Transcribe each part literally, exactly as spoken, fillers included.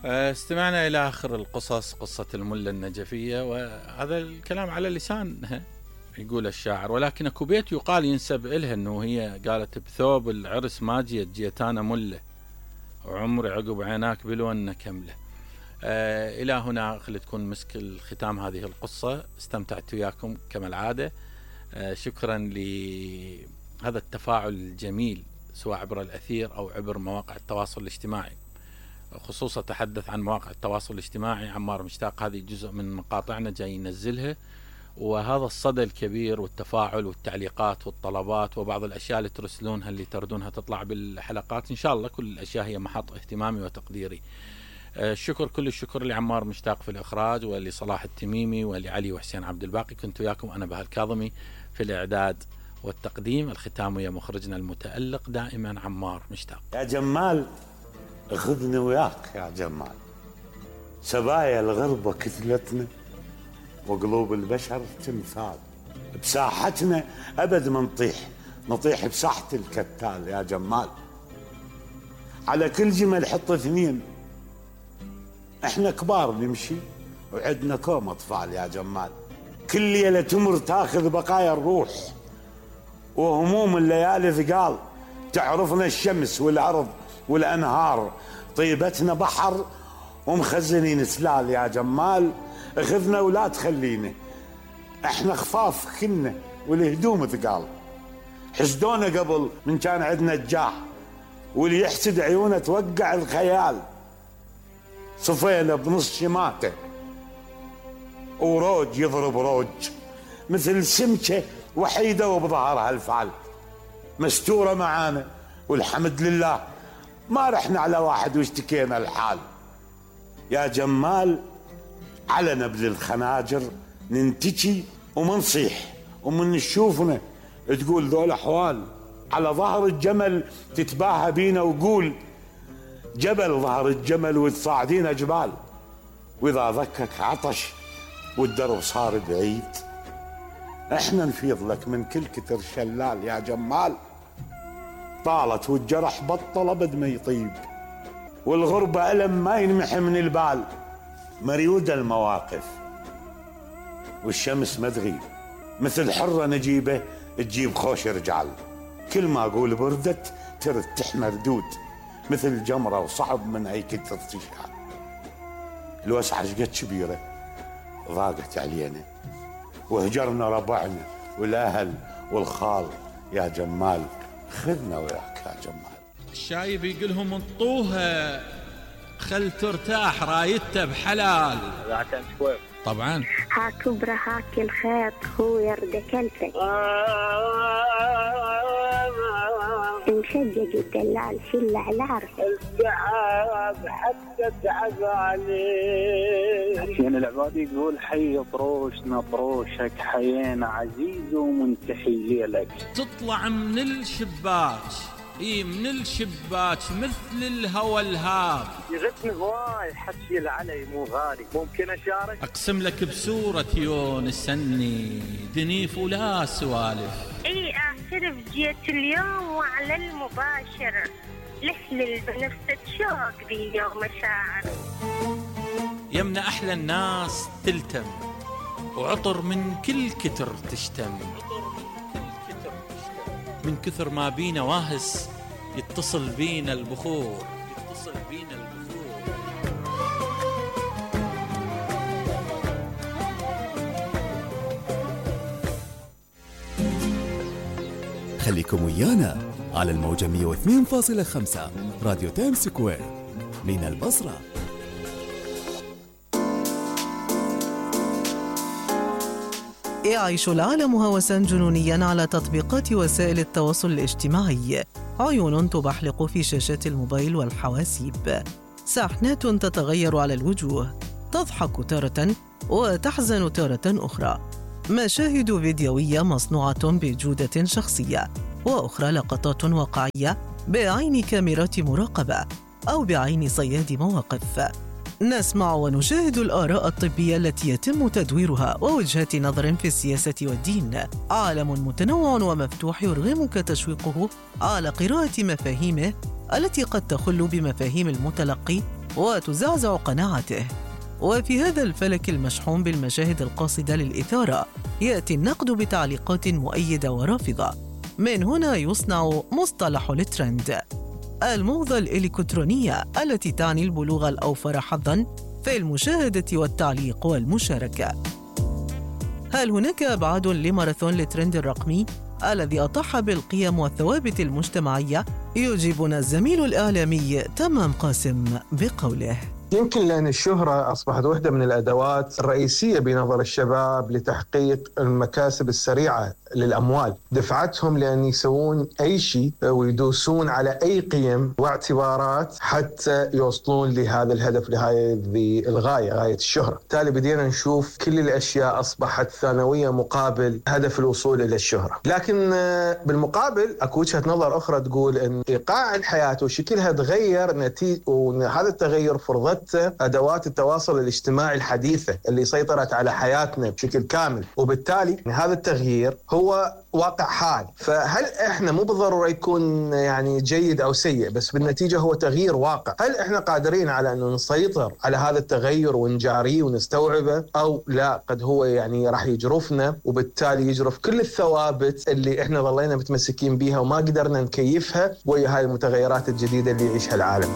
استمعنا إلى آخر القصص، قصة الملة النجفية، وهذا الكلام على لسان يقول الشاعر، ولكن اكو بيت يقال ينسب إلها أنه هي قالت: بثوب العرس ما جيت، جيت أنا ملة، وعمري عقب عيناك بالونة كملة. آه إلى هنا خلي تكون مسك الختام هذه القصة. استمتعت وياكم كما العادة. آه شكرا لهذا التفاعل الجميل سواء عبر الأثير أو عبر مواقع التواصل الاجتماعي، خصوصا تحدث عن مواقع التواصل الاجتماعي. عمار مشتاق هذه جزء من مقاطعنا جاي ينزلها، وهذا الصدى الكبير والتفاعل والتعليقات والطلبات وبعض الأشياء اللي ترسلونها اللي تردونها تطلع بالحلقات، إن شاء الله كل الأشياء هي محط اهتمامي وتقديري. الشكر كل الشكر لعمار مشتاق في الإخراج، ولصلاح التميمي، ولعلي وحسين عبد الباقي. كنت وياكم أنا بهاء الكاظمي في الإعداد والتقديم. الختام ويا مخرجنا المتألق دائما عمار مشتاق. يا جمال خذني وياك يا جمال، سبايا الغربة كتلتنا وقلوب البشر تمثال، بساحتنا أبد ما نطيح، نطيح بساحة الكتال يا جمال. على كل جمل حط اثنين، احنا كبار نمشي وعدنا كوم اطفال يا جمال. كل ليلة تمر تاخذ بقايا الروح وهموم الليالي ثقال، تعرفنا الشمس والأرض والأنهار، طيبتنا بحر ومخزنين سلال يا جمال. اخذنا ولا تخلينا، احنا خفاف كنا والهدوم ثقال. حسدونا قبل من كان عندنا الجاه، واللي يحسد عيونه توقع الخيال. صفينا بنص شماته وروج يضرب روج، مثل سمكة وحيدة وبظهرها الفعل. مستورة معانا والحمد لله، ما رحنا على واحد واشتكينا الحال يا جمال. على نبل الخناجر ننتجي ومنصيح، ومن نشوفنا تقول ذول احوال. على ظهر الجمل تتباهى بينا وقول جبل ظهر الجمل وتصاعدين جبال. واذا ذكك عطش والدرب صار بعيد، احنا نفيض لك من كل كتر شلال يا جمال. طالت والجرح بطل ابد ما يطيب، والغربة ألم ما ينمحي من البال. مريودة المواقف والشمس ما تغيب، مثل حرة نجيبة تجيب خوش رجال. كل ما أقول بردت ترد تحمر دود، مثل جمرة وصعب من أي كتر تشعل. الوسعة شقد كبيرة ضاقت علينا، وهجرنا ربعنا والأهل والخال يا جمال. خذنا وياك يا جمال. الشايب يقولهم انطوها خل ترتاح رايته بحلال. طبعا ها كبرى هاك الخيط هو يرد كلفك، مشجج الدلال شل على عرفك، التعب حتى تعب عليه. حسين العبادي يقول حي طروشنا طروشك، حيينا عزيز ومنتحي لك. تطلع من الشباك، اي من الشباك مثل الهوى الهاب، يغثني هواي حكي العلي مو غالي. ممكن اشارك؟ اقسم لك بسورة يونس سني دنيف ولا سوالف. اي اعترف جيت اليوم وعلى المباشر، لحلل بنفسك شوق ذي يوم مشاعر. يمنا احلى الناس تلتم، وعطر من كل كتر تشتم، من كثر ما بينا واهس يتصل بينا البخور، يتصل بينا البخور. خليكم ويانا على الموجة مية واثنين فاصلة خمسة راديو تايم سكوير من البصرة. يعيش العالم هوسا جنونيا على تطبيقات وسائل التواصل الاجتماعي، عيون تبحلق في شاشات الموبايل والحواسيب، ساحنات تتغير على الوجوه، تضحك تارة وتحزن تارة أخرى، مشاهد فيديوية مصنوعة بجودة شخصية، وأخرى لقطات واقعية بعين كاميرات مراقبة أو بعين صياد مواقف. نسمع ونشاهد الآراء الطبية التي يتم تدويرها ووجهات نظر في السياسة والدين. عالم متنوع ومفتوح يرغمك تشويقه على قراءة مفاهيمه التي قد تخل بمفاهيم المتلقي وتزعزع قناعته. وفي هذا الفلك المشحون بالمشاهد القاصدة للإثارة يأتي النقد بتعليقات مؤيدة ورافضة. من هنا يصنع مصطلح الترند، الموضة الإلكترونية التي تعني البلوغ الأوفر حظاً في المشاهدة والتعليق والمشاركة. هل هناك أبعاد لماراثون الترند الرقمي الذي أطاح بالقيم والثوابت المجتمعية؟ يجيبنا الزميل الإعلامي تمام قاسم بقوله: يمكن لأن الشهرة أصبحت واحدة من الأدوات الرئيسية بنظر الشباب لتحقيق المكاسب السريعة للأموال، دفعتهم لأن يسوون أي شيء ويدوسون على أي قيم واعتبارات حتى يوصلون لهذا الهدف، لهذه الغاية، غاية الشهرة. بالتالي بدينا نشوف كل الأشياء أصبحت ثانوية مقابل هدف الوصول إلى الشهرة. لكن بالمقابل أكو وجهة نظر أخرى تقول أن إيقاع الحياة وشكلها تغير نتيجة، وهذا التغير فرضته أدوات التواصل الاجتماعي الحديثة اللي سيطرت على حياتنا بشكل كامل، وبالتالي هذا التغيير هو واقع حال. فهل احنا مو بالضرورة يكون يعني جيد او سيء، بس بالنتيجة هو تغيير واقع. هل احنا قادرين على انه نسيطر على هذا التغير ونجاريه ونستوعبه او لا؟ قد هو يعني راح يجرفنا، وبالتالي يجرف كل الثوابت اللي احنا ظلينا متمسكين بيها وما قدرنا نكيفها ويا هاي المتغيرات الجديدة اللي يعيشها العالم.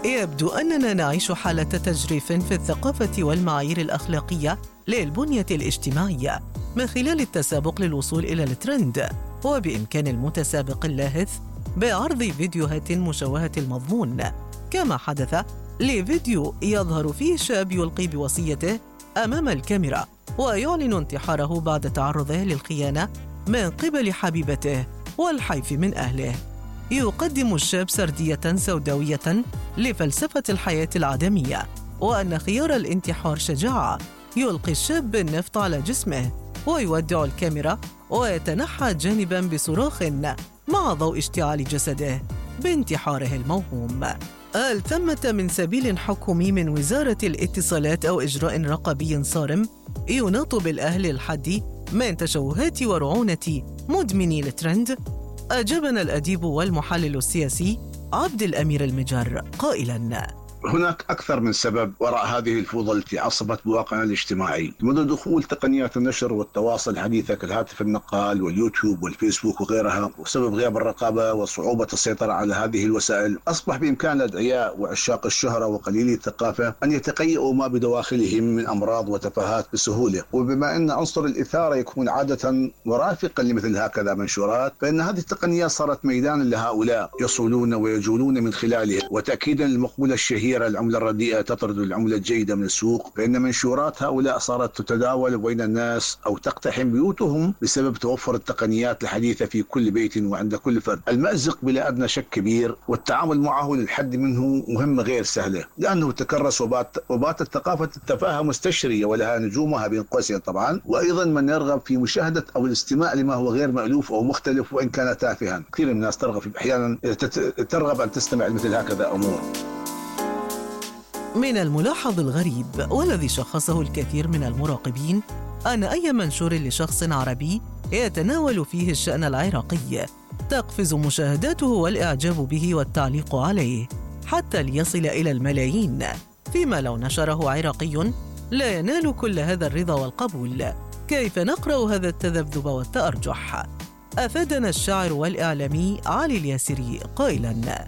يبدو أننا نعيش حالة تجريف في الثقافة والمعايير الأخلاقية للبنية الاجتماعية من خلال التسابق للوصول إلى الترند. وبإمكان المتسابق اللاهث بعرض فيديوهات مشوهة المضمون، كما حدث لفيديو يظهر فيه شاب يلقي بوصيته أمام الكاميرا ويعلن انتحاره بعد تعرضه للخيانة من قبل حبيبته والحيف من أهله. يقدم الشاب سردية سوداوية لفلسفة الحياة العدمية، وأن خيار الانتحار شجاعة. يلقي الشاب النفط على جسمه ويودع الكاميرا ويتنحى جانباً بصراخ مع ضوء اشتعال جسده بانتحاره الموهوم. هل ثمة من سبيل حكومي من وزارة الاتصالات أو إجراء رقابي صارم يناط بالأهل الحد من تشوهات ورعونة مدمني الترند؟ أجابنا الأديب والمحلل السياسي عبد الأمير المجر قائلاً: هناك أكثر من سبب وراء هذه الفوضى التي عصبت بواقعنا الاجتماعي منذ دخول تقنيات النشر والتواصل الحديثة كالهاتف النقال واليوتيوب والفيسبوك وغيرها. وسبب غياب الرقابة وصعوبة السيطرة على هذه الوسائل أصبح بإمكان الأدعياء وعشاق الشهرة وقليلي الثقافة أن يتقيئوا ما بدواخلهم من أمراض وتفاهات بسهولة. وبما أن عنصر الإثارة يكون عادة مرافقا لمثل هكذا منشورات، فإن هذه التقنيات صارت ميدانا لهؤلاء يصولون ويجولون من خلاله. وتأكيدا للمقولة الشهيرة العملة الرديئة تطرد العملة الجيدة من السوق، فإن منشورات هؤلاء صارت تتداول بين الناس أو تقتحم بيوتهم بسبب توفر التقنيات الحديثة في كل بيت وعند كل فرد. المأزق بلا أدنى شك كبير، والتعامل معه للحد منه مهمة غير سهلة، لأنه تكرس وبات وباتت ثقافة التفاهة مستشرية ولها نجومها بين قوسين طبعا. وأيضا من يرغب في مشاهدة أو الاستماع لما هو غير مألوف أو مختلف وإن كان تافها. كثير من الناس ترغب أحيانا ترغب أن تستمع لمثل هكذا أمور. من الملاحظ الغريب والذي شخصه الكثير من المراقبين أن أي منشور لشخص عربي يتناول فيه الشأن العراقي تقفز مشاهداته والإعجاب به والتعليق عليه حتى ليصل إلى الملايين، فيما لو نشره عراقي لا ينال كل هذا الرضا والقبول. كيف نقرأ هذا التذبذب والتأرجح؟ أفادنا الشاعر والإعلامي علي الياسري قائلاً: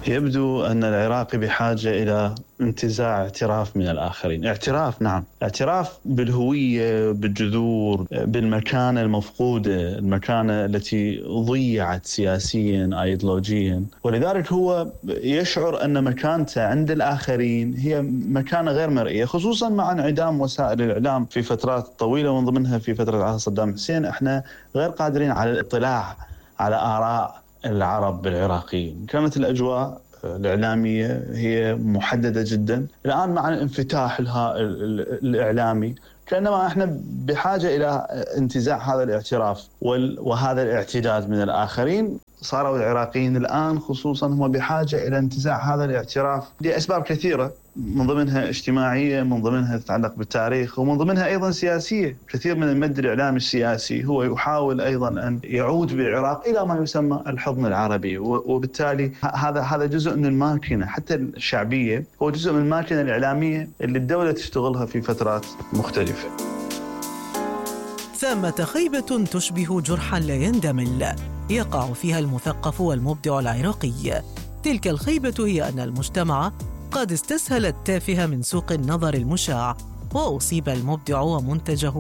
يبدو أن العراقي بحاجة إلى انتزاع اعتراف من الآخرين. اعتراف، نعم، اعتراف بالهوية، بالجذور، بالمكانة المفقودة، المكانة التي ضيعت سياسيا أيديولوجيا. ولذلك هو يشعر أن مكانته عند الآخرين هي مكانة غير مرئية، خصوصا مع انعدام وسائل الإعلام في فترات طويلة، ومن ضمنها في فترة عهد صدام حسين. احنا غير قادرين على الاطلاع على آراء العرب العراقيين. كانت الأجواء الإعلامية هي محددة جدا. الآن مع الانفتاح الإعلامي كأنما احنا بحاجة إلى انتزاع هذا الاعتراف وهذا الاعتداد من الآخرين. صاروا العراقيين الآن خصوصا هم بحاجة إلى انتزاع هذا الاعتراف لأسباب كثيرة، من ضمنها اجتماعية، من ضمنها تتعلق بالتاريخ، ومن ضمنها أيضا سياسية. كثير من المد الإعلامي السياسي هو يحاول أيضا أن يعود بالعراق إلى ما يسمى الحضن العربي، وبالتالي هذا هذا جزء من الماكينة حتى الشعبية، هو جزء من الماكينة الإعلامية اللي الدولة تشتغلها في فترات مختلفة. ثمة خيبة تشبه جرحا لا يندمل يقع فيها المثقف والمبدع العراقي. تلك الخيبة هي أن المجتمع قد استسهل التافه من سوق النظر المشاع، وأصيب المبدع ومنتجه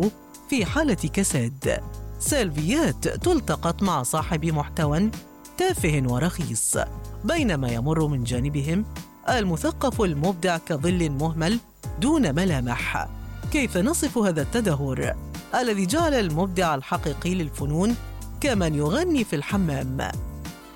في حالة كساد. سلبيات تلتقط مع صاحب محتوى تافه ورخيص، بينما يمر من جانبهم المثقف المبدع كظل مهمل دون ملامح. كيف نصف هذا التدهور الذي جعل المبدع الحقيقي للفنون كمن يغني في الحمام؟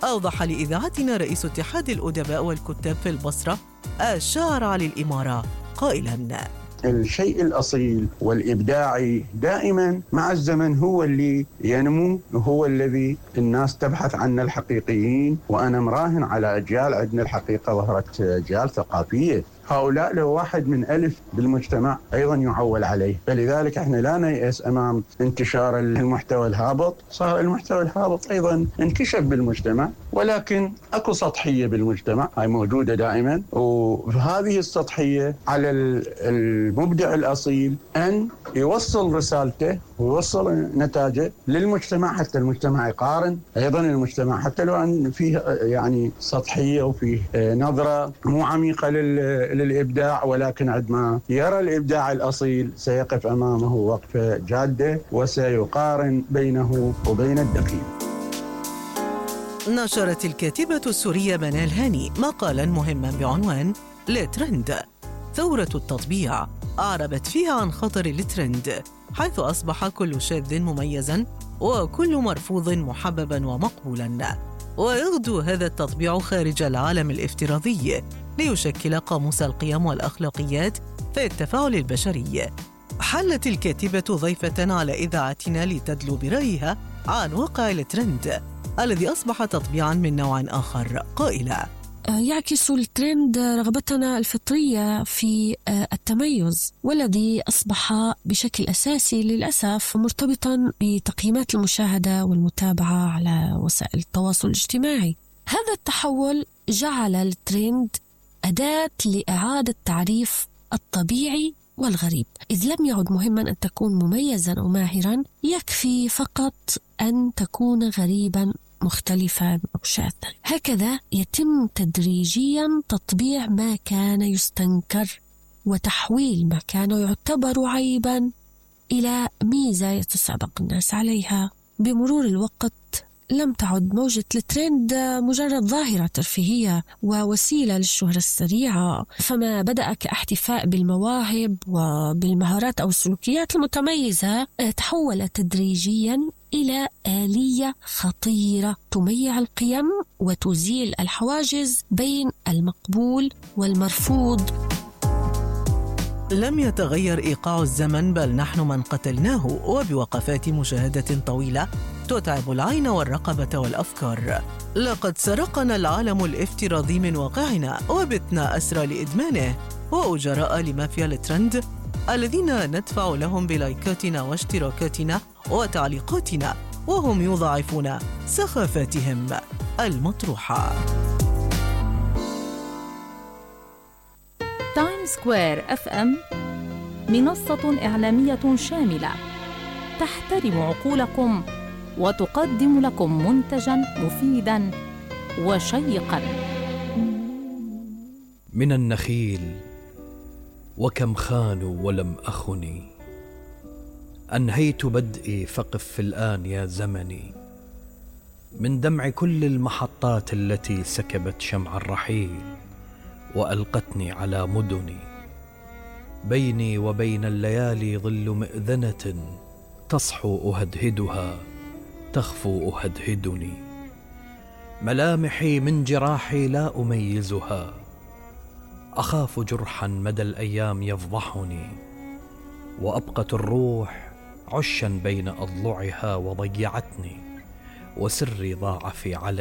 أوضح لإذاعتنا رئيس اتحاد الأدباء والكتاب في البصرة الشاعر علي الإمارة قائلاً: الشيء الأصيل والإبداعي دائما مع الزمن هو اللي ينمو، وهو الذي الناس تبحث عنه الحقيقيين. وأنا مراهن على أجيال، عندنا الحقيقة ظهرت أجيال ثقافية، هؤلاء لو واحد من ألف بالمجتمع أيضا يعول عليه. فلذلك احنا لا نيأس أمام انتشار المحتوى الهابط. صار المحتوى الهابط أيضا انكشف بالمجتمع، ولكن أكو سطحية بالمجتمع هاي موجودة دائما، وهذه السطحية على المبدع الأصيل أن يوصل رسالته ويوصل نتاجه للمجتمع، حتى المجتمع يقارن. أيضا المجتمع حتى لو أن فيه يعني سطحية وفيه نظرة مو عميقة للإبداع، ولكن عندما يرى الإبداع الأصيل سيقف أمامه وقفة جادة وسيقارن بينه وبين الدقيق. نشرت الكاتبة السورية منال هاني مقالاً مهماً بعنوان الترند ثورة التطبيع، أعربت فيها عن خطر الترند، حيث أصبح كل شاذ مميزاً وكل مرفوض محبباً ومقبولاً، ويغدو هذا التطبيع خارج العالم الافتراضي ليشكل قاموس القيم والأخلاقيات في التفاعل البشري. حلت الكاتبة ضيفة على إذاعتنا لتدلو برأيها عن واقع الترند الذي أصبح تطبيعاً من نوع آخر، قائلة: يعكس الترند رغبتنا الفطرية في التميز، والذي أصبح بشكل أساسي للأسف مرتبطاً بتقييمات المشاهدة والمتابعة على وسائل التواصل الاجتماعي. هذا التحول جعل الترند أداة لإعادة تعريف الطبيعي والغريب، إذ لم يعد مهماً أن تكون مميزاً أو ماهراً، يكفي فقط أن تكون غريباً مختلفاً أو شاذاً. هكذا يتم تدريجياً تطبيع ما كان يستنكر وتحويل ما كان يعتبر عيباً إلى ميزة يتسابق الناس عليها. بمرور الوقت لم تعد موجة الترند مجرد ظاهرة ترفيهية ووسيلة للشهرة السريعة، فما بدأ كاحتفاء بالمواهب وبالمهارات أو السلوكيات المتميزة تحول تدريجياً إلى آلية خطيرة تميع القيم وتزيل الحواجز بين المقبول والمرفوض. لم يتغير إيقاع الزمن، بل نحن من قتلناه، وبوقفات مشاهدة طويلة تتعب العين والرقبة والأفكار. لقد سرقنا العالم الافتراضي من واقعنا، وبتنا أسرى لإدمانه، وأجراء لمافيا الترند الذين ندفع لهم بلايكاتنا واشتراكاتنا وتعليقاتنا، وهم يضاعفون سخافاتهم المطروحة. تايم سكوير اف ام منصة إعلامية شاملة تحترم عقولكم وتقدم لكم منتجاً مفيداً وشيقاً. من النخيل وكم خانوا ولم أخني، أنهيت بدئي فقف الآن يا زمني، من دمع كل المحطات التي سكبت شمع الرحيل وألقتني على مدني. بيني وبين الليالي ظل مئذنة تصحو أهدهدها تخفو أهدهدني. ملامحي من جراحي لا أميزها، أخاف جرحا مدى الأيام يفضحني، وأبقت الروح عشا بين أضلعها وضيعتني، وسري ضاع في علني.